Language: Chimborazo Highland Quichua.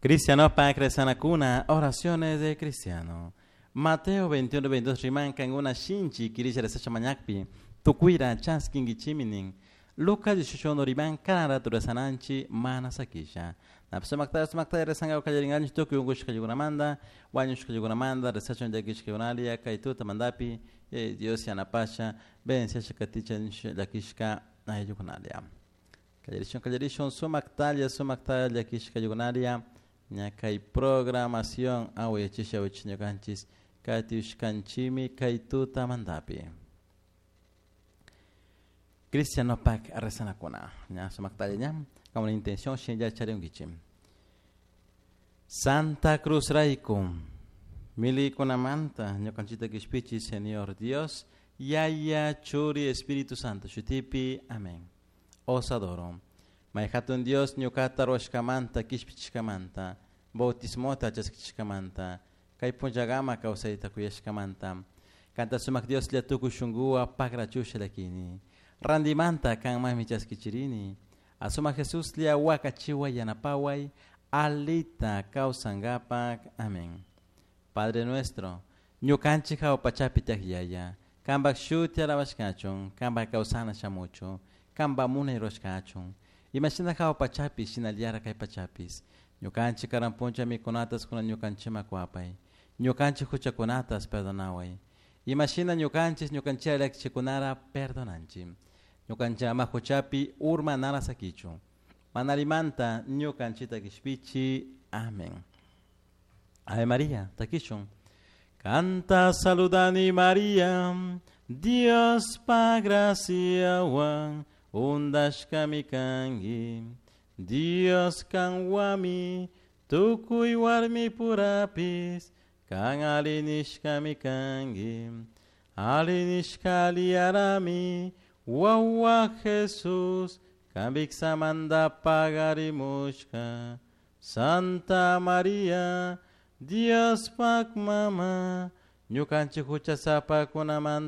Cristianopak rezanakuna, oraciones de cristiano. Mateo 21, 22 riman kankuna shinchi kirisha rezasha mañakpi, tukuira chaskinkichimi nin. Lucas 18 riman cada rato rezananchi mana sakisha. Sumaktalla sumaktalla rezankapak kallaringanchik tukuy unkushkakunamanta, wañushkakunamanta, rezachun llakishkakunalia, kay tutamantapi, Dios yanapasha, bendiciasha katichun llakishka ayllukunalia. Kallarishun kallarishun sumaktalla sumaktalla llakishkakunalia, ña kay programación awayachisha awayachisha ñukanchis katiushkanchimi kay tutamantapi. Cristianopak rezanakuna, ña sumaktalla ña, como la intención shinlla charinkichik. Santa Cruz rayku, milikunamanta ñukanchikta kishpichi Señor Dios, Yaya, Churi, Espíritu Santo, shutipi, amén. Os adoro. May hatun Dios ñukata ruwashkamanta, kishpichishkamanta, bautismota chaskichishkamanta, kay punllakama kawsayta kuyashkamanta, kanta sumak Dioslla tukuy shunkuwan pakrachusha llakini. Randimanta kanmanmi chaskichirini. Asumak Jesuslla wakachiway yanapaway, alita kawsankapak. Amén. Padre nuestro, ñukanchik hawa pachapi tiyak Yaya, kanpak shuti alabashkachun, kanpak kawsana shamuchun, kanpak munay rurashkachun. Imashina hawa pachapi, shinallara kay pachapis. Ñukanchik karan puncha mikunatas kunan ñukanchikman kuwapay. Ñukanchik huchakunatas perdonaway. Imashina ñukanchik ñukanchikta llakichikunara perdonanchik. Ñukanchik ama huchapi urmanara sakichun. Manalimanta ñukanchikta kishpichi. Amén. Ave María, takishun. Kanta saludani María, Diospa graciawan undashkami kanki. Dios kanwami, tukuy warmi purapis, kan alli nishkami kanki. Alli nishka aliyarami, wawa Jesús, kan viksamanta pagarimushka. Santa María, Diospak mama, ñukanchik huchasapakunamanta.